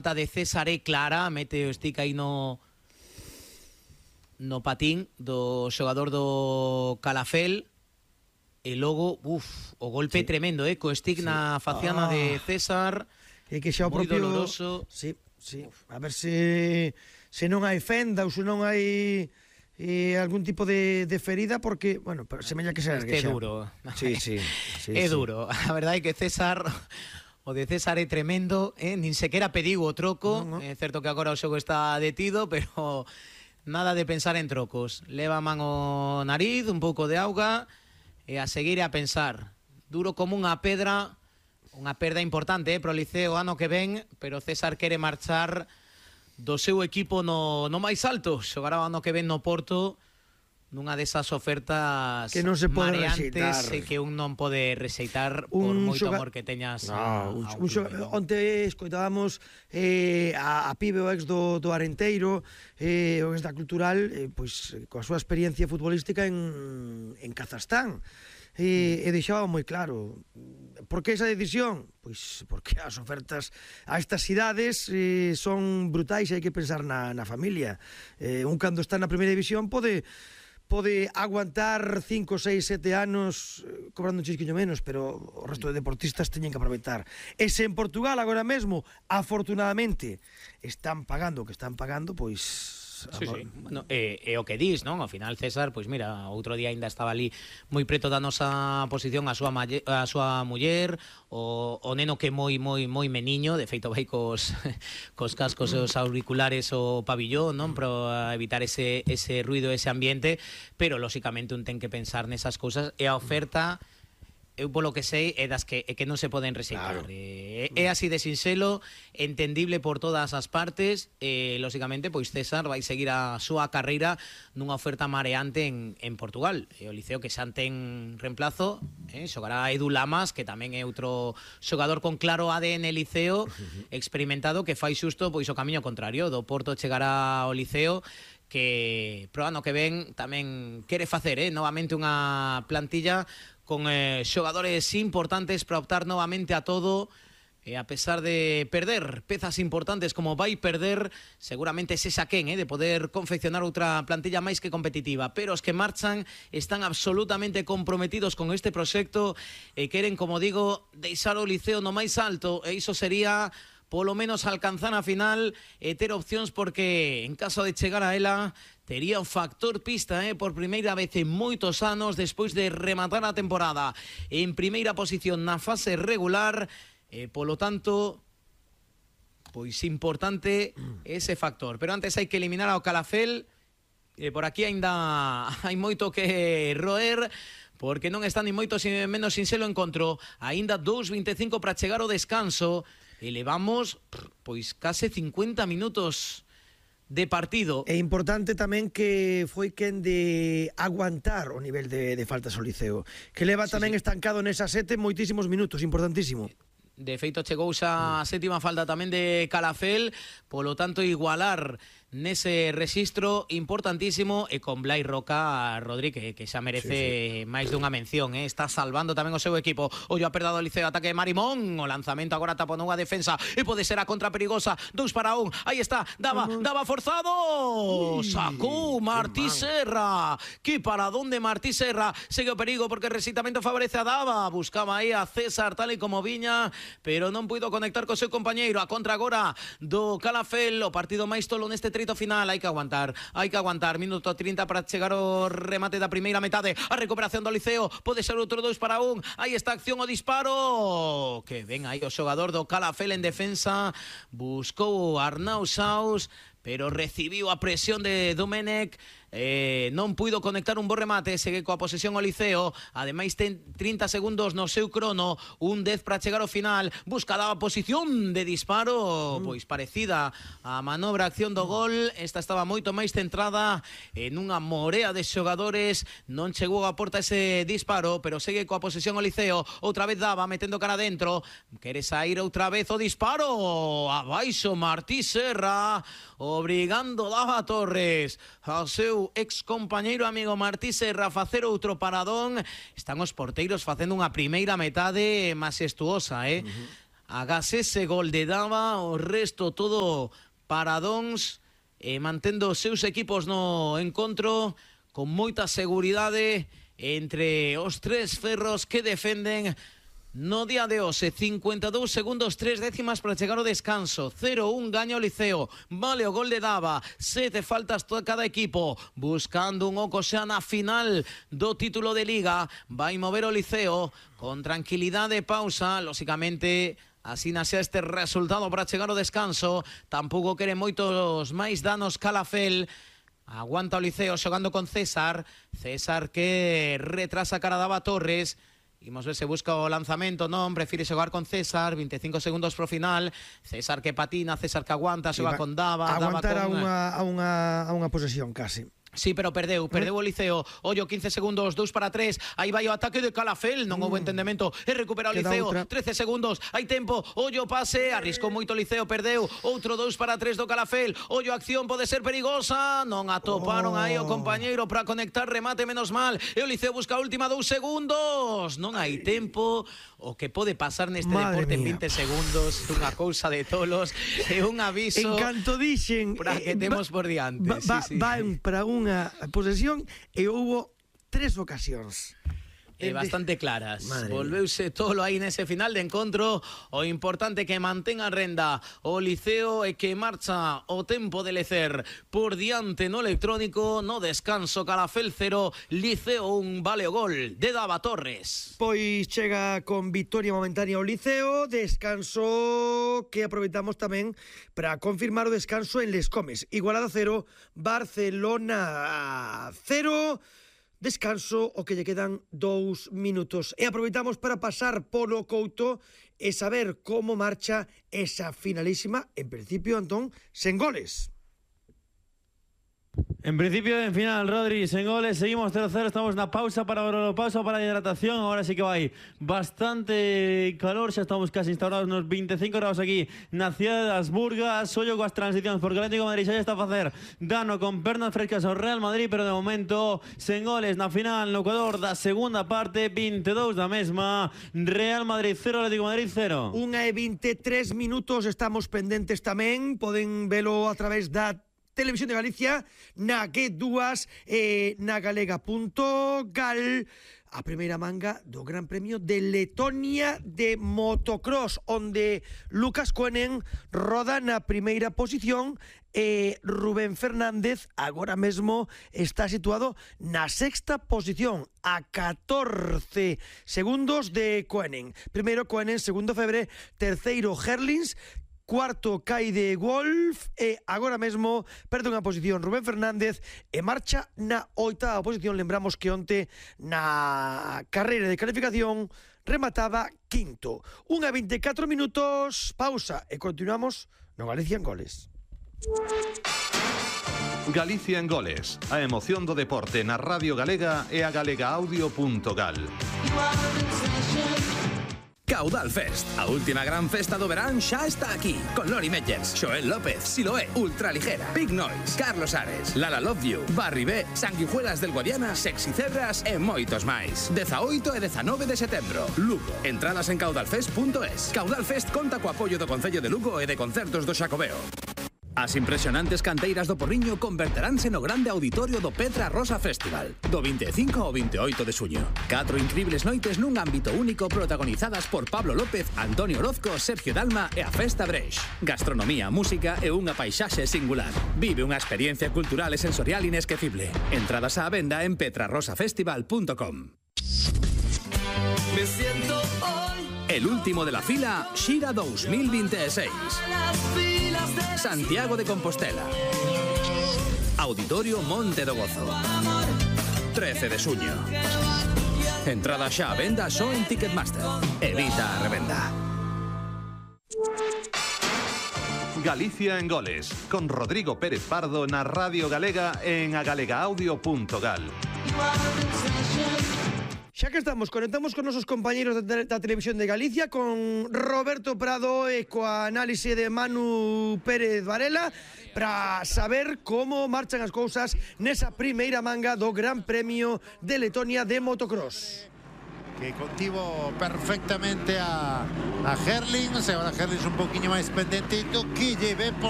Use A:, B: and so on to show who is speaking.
A: de César é clara, mete o stick aí no patín do xogador do Calafell e logo, o golpe tremendo, co stick na faciana de César.
B: É que xa o propio
A: doloroso.
B: Sí. A ver se non hai fenda ou se non hai algún tipo de ferida, porque, bueno, semella que se ergue
A: xa. É duro.
B: Sí.
A: É duro. A verdade é que César... O de César é tremendo, nin sequera pediu o troco. É certo que agora o xogo está detido, pero nada de pensar en trocos. Leva a man o nariz, un pouco de auga, e a seguir e a pensar. Duro como unha pedra, unha perda importante pro Liceo ano que ven, pero César quere marchar do seu equipo no máis alto. Xogará o ano que ven no Porto, nunha desas ofertas
B: que non se pode
A: mareantes
B: rexeitar,
A: e que un non pode rexeitar por moito amor que teñas
B: onte escoitábamos a Pibe, o ex do Arenteiro, o ex da Cultural, pois coa súa experiencia futbolística en Kazajstán, e deixaba moi claro. Por que esa decisión? Pois porque as ofertas a estas cidades son brutais e hai que pensar na familia. Un cando está na primeira división pode aguantar 5, 6, 7 anos cobrando un chisquiño menos, pero o resto de deportistas teñen que aproveitar. E se en Portugal agora mesmo, afortunadamente, están pagando o que están pagando, pois...
A: Sí. Bueno, é o que dis, non? Ao final César, pois mira, outro día ainda estaba ali moi preto da nosa posición a súa muller, o neno que moi meniño, de feito vai cos cascos e os auriculares o pabillón, non? Para evitar ese ruido, ese ambiente, pero lóxicamente un ten que pensar nesas cousas, e a oferta... eu polo que sei é das que non se poden rexeitar. Claro. É así de sinxelo, entendible por todas as partes, e lóxicamente pois César vai seguir a súa carreira nunha oferta mareante en Portugal. E o Liceo que xa ten reemplazo, xogará Edu Lamas, que tamén é outro xogador con claro ADN Liceo, experimentado, que fai xusto pois o camiño contrario. Do Porto chegará ao Liceo, que pro ano que ven tamén quere facer novamente unha plantilla con xogadores importantes para optar novamente a todo, e a pesar de perder pezas importantes como vai perder seguramente ese saquén de poder confeccionar outra plantilla máis que competitiva, pero os que marchan están absolutamente comprometidos con este proxecto e queren, como digo, deixar o Liceo no máis alto, e iso sería polo menos alcanzar a final e ter opcións, porque en caso de chegar a ela tería o factor pista por primeira vez en moitos anos, despois de rematar a temporada en primeira posición na fase regular, polo tanto pois importante ese factor. Pero antes hai que eliminar ao Calafell, por aquí aínda hai moito que roer, porque non está ni moito menos sinxelo encontro. Aínda 2:25 para chegar ao descanso, e levamos pois case 50 minutos de partido.
B: É importante tamén que foi quen de aguantar o nivel de faltas ao Liceo, que leva tamén estancado nesa 7 moitísimos minutos, importantísimo.
A: De feito chegou xa a sétima falta tamén de Calafell, polo tanto igualar nese rexistro importantísimo, e con Blai Roca Rodríguez, que xa merece máis dunha mención, está salvando tamén o seu equipo. Ollo a perda do Liceo, ataque de Marimón, o lanzamento agora taponou a defensa, e pode ser a contra perigosa, 2-1, aí está, daba forzado, sacou Martí Serra, que paradón de Martí Serra, segue o perigo porque o rexeitamento favorece a Dava, buscaba aí a César tal e como viña, pero non puido conectar co seu compañeiro. A contra agora do Calafell, o partido máis tolo neste trito final. Hai que aguantar, minuto 30 para chegar ao remate da primeira metade. A recuperación do Liceo, pode ser outro 2-1, aí está a acción, o disparo, que ven aí o xogador do Calafell en defensa, buscou Arnau Saus, pero recibiu a presión de Domenech, non puido conectar un bo remate, segue coa posesión o Liceo, ademais ten 30 segundos no seu crono, un 10 para chegar ao final, busca a posición de disparo, pois parecida a manobra acción do gol, esta estaba moito máis centrada en unha morea de xogadores, non chegou a porta ese disparo, pero segue coa posesión o Liceo, outra vez Dava metendo cara dentro, quere sair outra vez o disparo, abaixo Martí Serra, obrigando Dava Torres ao seu ex compañeiro amigo Martí Serra a facer outro paradón. Están os porteiros facendo unha primeira metade majestuosa, agás ese gol de Dava, o resto todo paradóns, mantendo os seus equipos no encontro con moita seguridade entre os tres ferros que defenden no día de hoxe. 52 segundos, 3 décimas para chegar ao descanso. 0-1 gaña o Liceo. Vale o gol de Dava. 7 faltas todo cada equipo. Buscando un oco xa na final do título de Liga. Vai mover o Liceo con tranquilidade, pausa. Lóxicamente, así nace este resultado para chegar ao descanso. Tampouco quere moitos máis danos Calafel. Aguanta o Liceo xogando con César. César que retrasa cara a Dava Torres. Imos ver se busca o lanzamento, non, prefire xogar con César, 25 segundos pro final. César que patina, César que aguanta, xoga con Dava.
B: Aguantar a unha posesión casi.
A: Sí, pero perdeu o Liceo. Ollo, 15 segundos, 2 para 3. Aí vai o ataque de Calafel, non houve entendemento. E recupera o Liceo, 13 segundos. Hai tempo, ollo pase, arriscou moito o Liceo, perdeu. Outro 2 para 3 do Calafel. Ollo, acción pode ser perigosa. Non atoparon aí o compañeiro para conectar, remate menos mal. E o Liceo busca a última 2 segundos. Non hai tempo. O que pode pasar neste deporte en 20 segundos, unha cousa de tolos. É un aviso.
B: En canto dixen
A: para que temos por diante.
B: Van para unha posesión e houbo 3 ocasións
A: bastante claras. Volveuse tolo aí nese final de encontro. O importante que mantenga a renda o Liceo e que marcha o tempo de lecer por diante no electrónico. No descanso, Calafel 0, Liceo 1, vale o gol de Dava Torres.
B: Pois chega con victoria momentánea o Liceo. Descanso que aproveitamos tamén para confirmar o descanso en Les Comes. Igualada 0, Barcelona 0. Descanso o que lle quedan 2 minutos. E aproveitamos para pasar polo Couto e saber como marcha esa finalísima, en principio, Antón, sen goles.
C: En principio, en final, Rodri, sen goles, seguimos 0-0, estamos na pausa para a hidratación. Ahora sí que vai bastante calor, xa estamos casi instaurados nos 25 grados aquí na cidade das Burgas. Ollo coas transicións, porque o Atlético de Madrid xa está a facer dano con pernas frescas ao Real Madrid, pero de momento sen goles na final no Ecuador da segunda parte, 22 da mesma. Real Madrid 0, Atlético de Madrid 0.
B: 1:23 minutos, estamos pendentes tamén, poden velo a través da Televisión de Galicia, na G2 e na galega.gal. A primeira manga do Gran Premio de Letonia de motocross, onde Lucas Koenen roda na primeira posición e Rubén Fernández agora mesmo está situado na sexta posición, a 14 segundos de Koenen. Primeiro Koenen, segundo Febre, terceiro Herlings, cuarto Kaide Wolf e agora mesmo perde unha posición Rubén Fernández e marcha na oitava posición. Lembramos que onte na carreira de calificación remataba quinto. 1:24 minutos, pausa e continuamos no Galicia en Goles.
D: Galicia en Goles, a emoción do deporte na Radio Galega e a galegaaudio.gal.
E: Caudal Fest, a última gran festa do verán xa está aquí, con Lori Meyers, Xoel López, Siloé, Ultraligera, Big Noise, Carlos Ares, Lala Love You, Barry B, Sanguijuelas del Guadiana, Sexy Cebras e moitos máis. 18 e 19 de setembro, Lugo. Entradas en caudalfest.es. Caudal Fest conta co apoio do Concello de Lugo e de Concertos do Xacobeo. As impresionantes canteiras do Porriño converteránse no grande auditorio do Petra Rosa Festival, do 25 ao 28 de suño. 4 incribles noites nun ámbito único protagonizadas por Pablo López, Antonio Orozco, Sergio Dalma e a Festa Breix. Gastronomía, música e unha paisaxe singular. Vive unha experiencia cultural e sensorial inesquecible. Entradas á venda en petrarosafestival.com. Me siento hoy el último de la fila Xira 2026. Santiago de Compostela. Auditorio Monte do Gozo. 13 de suño. Entrada xa a venda só en Ticketmaster. Evita a revenda.
D: Galicia en Goles, con Rodrigo Pérez Pardo na Radio Galega en agalegaaudio.gal.
B: Xa que estamos, conectamos con nosos compañeros da Televisión de Galicia, con Roberto Prado e coa análise de Manu Pérez Varela, para saber como marchan as cousas nesa primeira manga do Gran Premio de Letonia de motocross.
F: que contivo perfectamente a Herlings. Agora Herlings un poquinho máis pendentito, que lle ven por